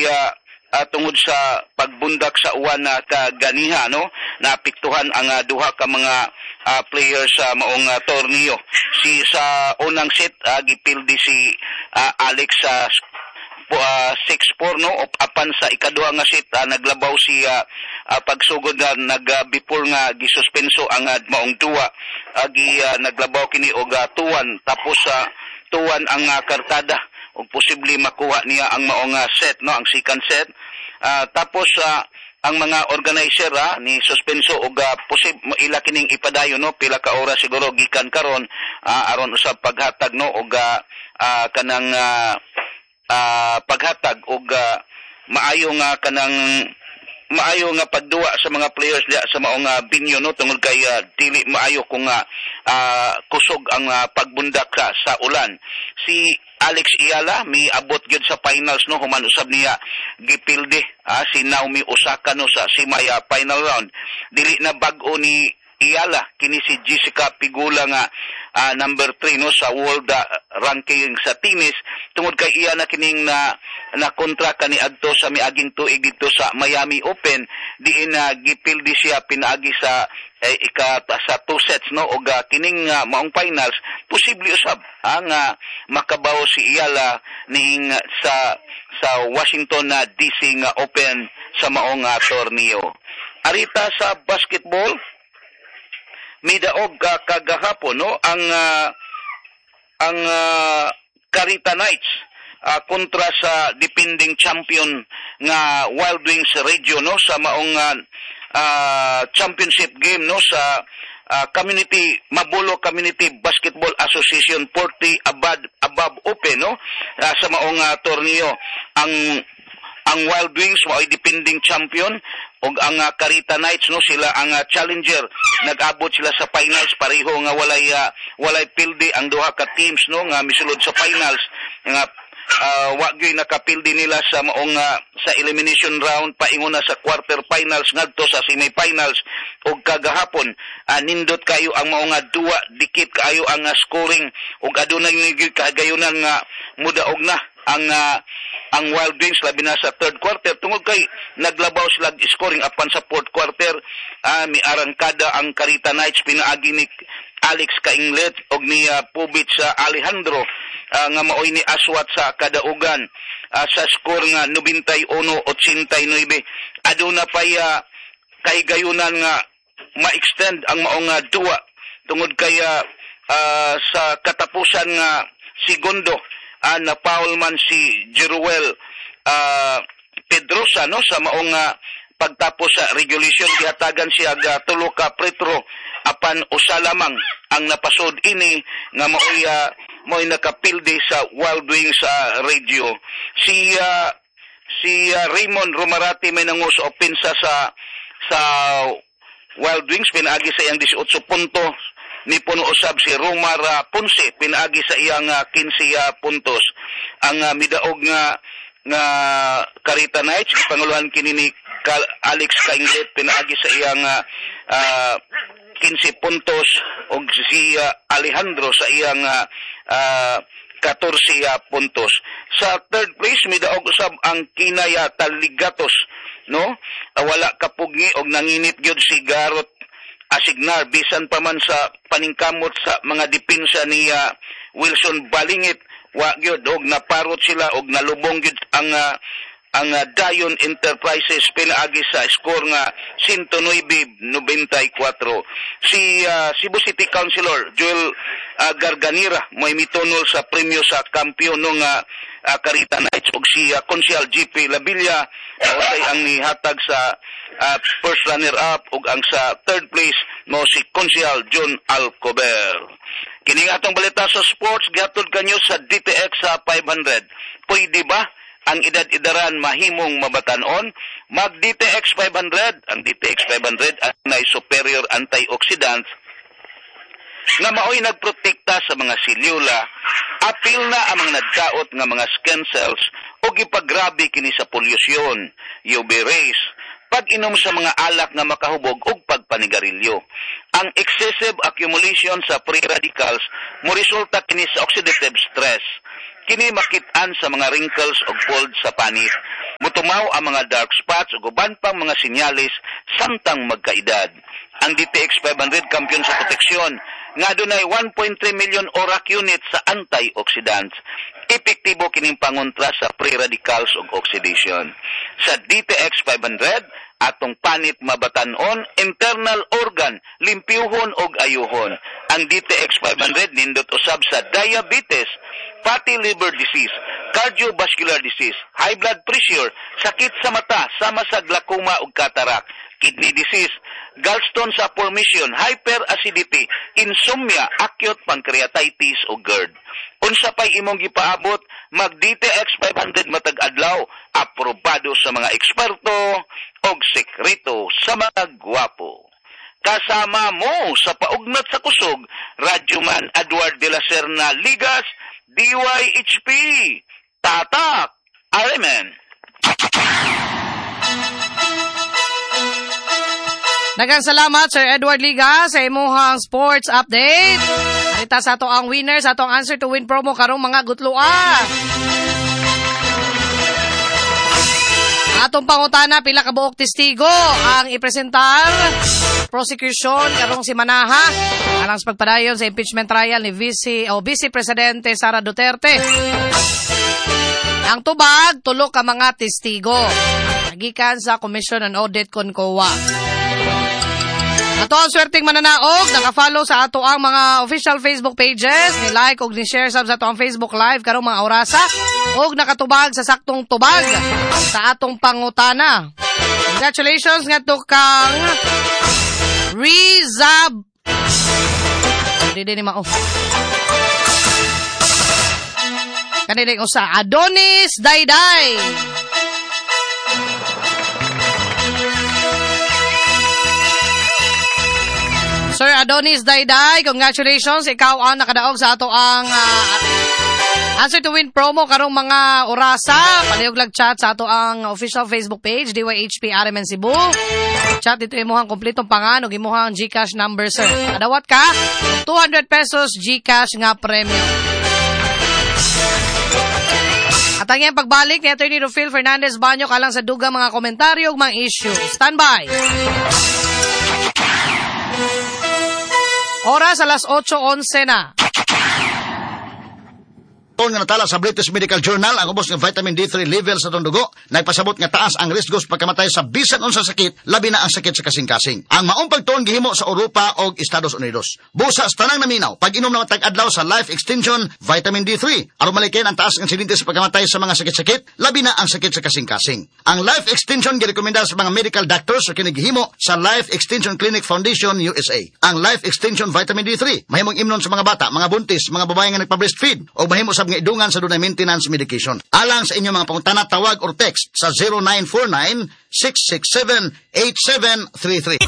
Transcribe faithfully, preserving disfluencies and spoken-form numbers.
kay uh, uh, tungod sa pagbundak sa uwan na kaganiha, no, naapektuhan ang uh, duha ka mga uh, players sa maong uh, torneo. Si sa unang set, uh, gipildi si uh, Alex sa uh, six four, no, apan sa ikaduha nga set, uh, naglabaw si uh, uh, pagsugod na nag uh, before nga gisuspenso ang uh, maong duwa, uh, gi, uh, naglabaw kini og uh, two one, tapos sa uh, two one ang uh, kartada ug posible makuha niya ang maong uh, set, no, ang second set. uh, tapos uh, ang mga organizer ah, ni suspenso og uh, posib ila kining ipadayon, no, pila ka oras siguro gikan karon, uh, aron usab paghatag, no, og uh, uh, kanang uh, uh, paghatag og uh, maayo nga kanang maayo nga pagduwa sa mga players diya sa maong uh, venue, no, tungod kay uh, dili maayo kung uh, uh, kusog ang uh, pagbundak ka sa ulan. Si Alex Eala miabot gyud sa finals, no, human usab niya gipildi ah, si Naomi Osaka, no, sa semi uh, final round. Dili na bag-o ni Eala kini si Jessica Pegula nga uh, number three, no, sa world uh, ranking sa tennis, tungod kay iya na kining na na kontra kani adto sa miaging tuig dito sa Miami Open, diin na uh, gipildi siya pinaagi sa eh, ika sa two sets, no. Og uh, kining uh, maong finals, posible usab ang uh, makabaw si Eala ning sa sa Washington na D C nga Open sa maong uh, torneo. Arita sa basketball, midaog uh, kagahapon, no, ang uh, ang uh, Carita Knights uh, kontra sa defending champion nga Wild Wings Radio, no, sa maong uh, uh, championship game, no, sa uh, Community Mabolo Community Basketball Association forty above above Open, no, uh, sa maong uh, torneo. Ang ang Wild Wings mao'y defending champion ug ang uh, Carita Knights, no, sila ang uh, challenger. Nag-abot sila sa finals pareho nga walay uh, walay pildi ang duha ka teams, no, nga misulod sa finals nga uh, wa gyud nakapildi nila sa maong uh, sa elimination round paingon na sa quarter finals ngadto sa semifinals. Ug kagahapon, uh, nindot kayo ang maong uh, duwa, dikit kaayo ang uh, scoring ug adunay gyud kahigayunan nga mudaog na ang uh, ang Wild Wings, labi na sa third quarter, tungod kay naglabaw sila scoring. Apan sa fourth quarter, uh, miarangkada ang Carita Knights pinaagi ni Alex Cainglet og ni uh, Pubit sa Alejandro, uh, nga maoy ni aswat sa kadaugan uh, sa score nga ninety-one eighty-nine. Aduna pay uh, kahigayunan nga ma-extend ang maong uh, duwa tungod kay uh, uh, sa katapusan nga segundo, uh, na foul man si Jeruel uh, Pedrosa, no, sa maong uh, pagtapos sa regulation. Gihatagan siya og tulo ka free throw, apan usa lamang ang napasod ini nga maoy uh, maoy nakapildi sa Wild Wings sa uh, Radio. Si uh, si uh, Raymond Romarate may nangu sa opensa sa sa Wild Wings pinaagi sa iyang eighteen puntos. Ni puno usab si Romar uh, Ponce pinaagi sa iyang uh, fifteen uh, puntos. Ang uh, midaog nga nga Carita Knights, panguluhan kini ni Alex Cainglet pinaagi sa iyang uh, uh, fifteen puntos og si uh, Alejandro sa iyang uh, uh, fourteen uh, puntos. Sa third place, midaog usab ang Kinaya Taligatos, no? Uh, wala kapugni og nanginit gyud si Garot Asignar bisan pa man sa paningkamot sa mga depensa ni uh, Wilson Balingit, wa gyud og naparot sila og nalubong gyud ang uh, ang uh, Dayon Enterprises pinaagi sa score nga one oh nine ninety-four. Si uh, Cebu City Councilor Joel uh, Garganira may mitunol sa premyo sa kampiyon ng uh, uh, Carita Knights ug si uh, Konsyal G P Labilla uh, ang nihatag sa uh, first runner up, ug ang sa third place mo si Konsyal John Alcober. Kini nga atong balita sa sports gihatod kanyo sa D T X sa five hundred. Pwede ba ang edad-edaran mahimong mabatanon? Mag D T X five hundred. Ang D T X five hundred ay superior antioxidants nga maoy nagprotekta sa mga selula, apil na ang mga nagkaot nga mga skin cells o gipagrabe kini sa polusyon, U V rays, pag-inom sa mga alak nga makahubog ug pagpanigarilyo. Ang excessive accumulation sa free radicals mo resulta kini sa oxidative stress. Kini makit-an sa mga wrinkles ug fold sa panit. Mutumaw ang mga dark spots ug uban pang mga senyales samtang magkaedad. Ang D T X five hundred kampiyon sa proteksyon nga dunay one point three million ORAC units sa antioxidants. Epektibo kining pangontra sa free radicals ug oxidation. Sa D T X five hundred, atong panit mabatan-on, internal organ, limpyuhon og ayuhon. Ang D T X five hundred nindot usab sa diabetes, fatty liver disease, cardiovascular disease, high blood pressure, sakit sa mata sama sa glaucoma ug cataract, kidney disease, gallstone sa formation, hyperacidity, insomnia, acute pancreatitis ug GERD. Unsa pay imong gipaabot, mag D T X five hundred matag adlaw, aprobado sa mga eksperto og sekreto sa mga gwapo. Kasama mo sa paugnat sa kusog, Radyoman Edward de la Serna Ligas, D Y H P. Tatak! Amen. Daghang salamat, Sir Edward Liga, sa imuhang sports update. Arita sa ato ang winner sa atong answer to win promo karong mga gutloa. Atong pangutana, pila ka buok testigo ang ipresentar prosecution karong si Manaha alang sa pagpadayon sa impeachment trial ni Vice o Vice Presidente Sara Duterte. Ang tubag, tulo ka mga testigo gikan sa Commission on Audit kon C O A. Ato ang swerteng mananaog, naka-follow sa ato ang mga official Facebook pages, ni like og ni share sab sa ato ang Facebook Live karong mga orasa, og nakatubag sa saktong tubag sa atong pangutana. Congratulations ngadto kang Rizab. Di ni mao. Kanilang usa Adonis Dayday. Sir Adonis Dayday, congratulations. Ikaw ang nakadaog sa ato ang uh, answer to win promo karong mga orasa. Palihog lag chat sa ato ang official Facebook page, D Y H P R M N Cebu. Chat dito imuhang kompletong pangan ug imuhang GCash number, sir. Adawat ka two hundred pesos GCash nga premyo. At ang iyang pagbalik ni Attorney Rufil Fernandez Banyo kalang sa dugang mga komentaryo ug mga issue. Stand by. Oras alas otso onse na. Nga natala sa British Medical Journal ang ubos ng vitamin D three level sa atong dugo nagpasabot nga taas ang risgo sa pagkamatay sa bisan unsa sakit, labi na ang sakit sa kasing-kasing. Ang maong pagtuon gihimo sa Europa og Estados Unidos. Busa sa tanang naminaw, pag-inom na matag adlaw sa Life Extension Vitamin D three aron malikayan ang taas ng insidente sa pagkamatay sa mga sakit-sakit, labi na ang sakit sa kasing-kasing. Ang Life Extension girekomenda sa mga medical doctors sa kini gihimo sa Life Extension Clinic Foundation U S A. Ang Life Extension Vitamin D three mahimong imnon sa mga bata, mga buntis, mga babae nga nagpa-breastfeed o mahimo sab nga idungan sa dunay maintenance medication. Alang sa inyong mga pangutana, tawag or text sa zero nine four nine, six six seven, eight seven three three.